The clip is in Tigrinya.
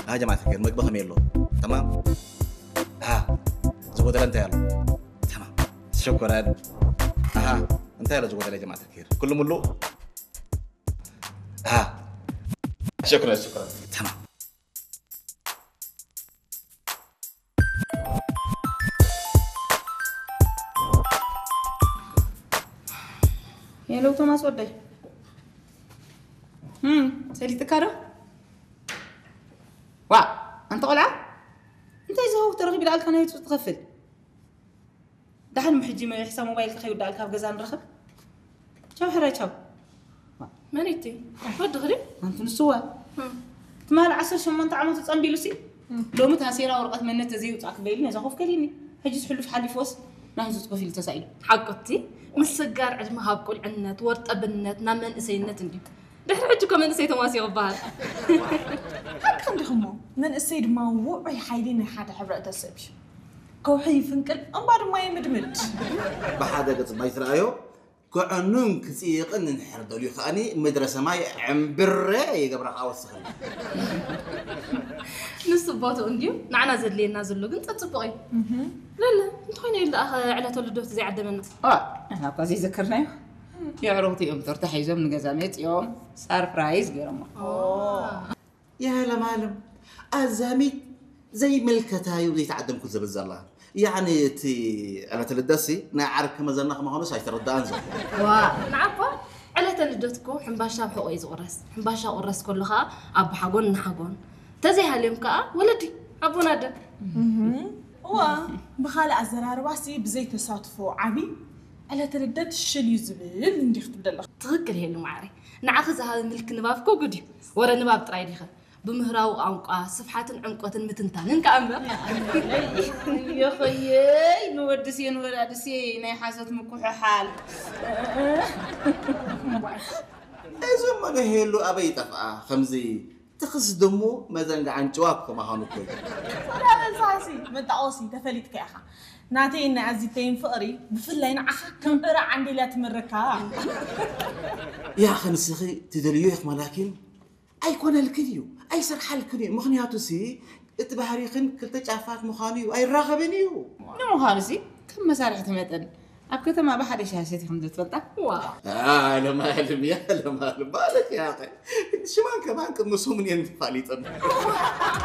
ها جماعة الخير، ምግቢ ከመይ ኣሎ? تمام؟ ها ዝጎደለ እንታይ ኣሎ? تمام. شكرا. ها እንታይ ኣሎ ዝጎደለ جماعة الخير? ኩሉ ሙሉእ? ها شكرا، شكرا. تمام. ሄሎ ቶማስ ወደይ፣ እም፣ ሰሊጥካ ዶ? ዋ፣ ኣንተ ቆልዓ፣ እንታይ ዝሃው ተረኺቡ ደኣልካ ናይ ውፅእ ትኸፍል? ደሓን ሕጂ መ-፣ ሕሳብ ሞባይልካ ከይውዳኣልካ ኣብ ገዛ ንረኸብ። ቻው ሕራይ ቻው። መን እቲ ወዲ ክዲ ኣንቲ ንስዋ ትማል ዓሰርተ ሸሞንተ ዓመቱ ጸንቢሉ ሲ ሎሚ ታሴራ ወረቐት መነት ተዘይውጻእ ክበይሉ ነዛ ኮፍ ከሊኒ። ሕጂስ ሕሉፍ ሓሊፎስ ናይዙ ጽሑፍ ኢሉ ተሳኢሉ። ሓቁቲ ምስጋር ዕድመ ካብ ቁልዕነት ወርጠብነት ናብ መንእሰይነት እንድዩ። ድሕሪ ሕጂ እኮ መንእሰይ ተማሲቑ ይበሃል። ሓቅኺ እንዲኹሞ መንእሰይ ድማ ውዑይ ሓይሊ ናይ ሓደ ሕብረተሰብ እዩ። ከውሒ ይፍንቅል እምባ ድማ ይምድምድ። ብሓደ ገጽ ማይ ትረኣዮ ክዕኑን ክጽይቕን እንድሕር ደልዩ ከኣኒ ምድረ ሰማይ ዕምብረ ይገብራ ከኣ ወስኸልና። ንሱ ቦትኡ እንድዩ ንዓና ዘድልየና ዘሎ ግን ጸጽቡቕ እዩ። ለለ እንተኾይኑ ኢሉ ደኣ ዕለተ ልደቱ ዘይዓደመና። ዋ ንሕና እኳ ዘይዘከርናዮ የዕሩኽቲ እዮም ቶርታ ሒዞም ንገዛ መጺኦም ሳርፕራይዝ ገይሮሞ። يا لمالم ኣዛሚት ዘይምልከታ እዩ ዘይተዓደምኩ ዝብል ዘላ ያዕኒ እቲ ዕለተ ልደሲ ናይ ዓርኪ መዘና ከምዃኑስ ኣይተረዳኣን ዘሎ ዋ ንዓኳ ዕለተ ልደትኮ ሕምባሻ ኣብ ሕቆ እዩ ዝቁረስ ሕምባሻ ቁረስ ከሎ ከዓ ኣቦሓጎን እናሓጎን ተዘይሃልዮም ከዓ ወለዲ ኣቦን ኣደን እዋ ብኻልእ ኣዘራርባሲ ብዘይተሳትፎ ዓቢ ዕለተ ልደት ሽል እዩ ዝብል እንዲኽ ትብል ኣለኻ ትኽክል ሄሉ ማዕረይ ንዓኺ ዝሃበ ምልኪ ንባብ እኮ ጉድ እዩ ወረ ንባብ ጥራይ ዲኸ ብምህራዊ ቋንቋ ስፍሓትን ዕምቆትን ምትንታንን ከኣ እምበር የኸየይ ንወድሴ ንወላድሴ ናይ ሓሶት ምኩሕሓል እዚ እሞ ንሄሉ ኣበይ ይጠፍኣ ከምዚ ትኽስ ድሙ መዘንግዓን ጭዋ ክማዃኑ እኮ እዩ ሰላም እንስሳሲ መጣቆሲ ተፈሊጥካ ኢኻ ናተይን ናይ ኣዚተይን ፍቕሪ ብፍላይ ንዓኻ ከም ዕረ ዓንዴልያ ትምርካ ያኸ ንስኺ ትደልዮ ኢኽ ማላኪን ኣይኮነልክን እዩ ኣይሰርሓልክን እዩ ምኽንያቱ ሲ እቲ ባህሪኽን ክልተ ጫፋት ምዃኑ እዩ ኣይራኸብን እዩ ንምዃኑ ሲ ከም መሳርሕቲ መጠን ኣብ ከተማ ብሓደ ሻሂ ሰቲኹም ዶ ትፈልጣ? ኣለማልም ያለማልም ማለት ያኸ ሽማን ከማን ቅድሚ ሰሙን እየን ተፋሊጠን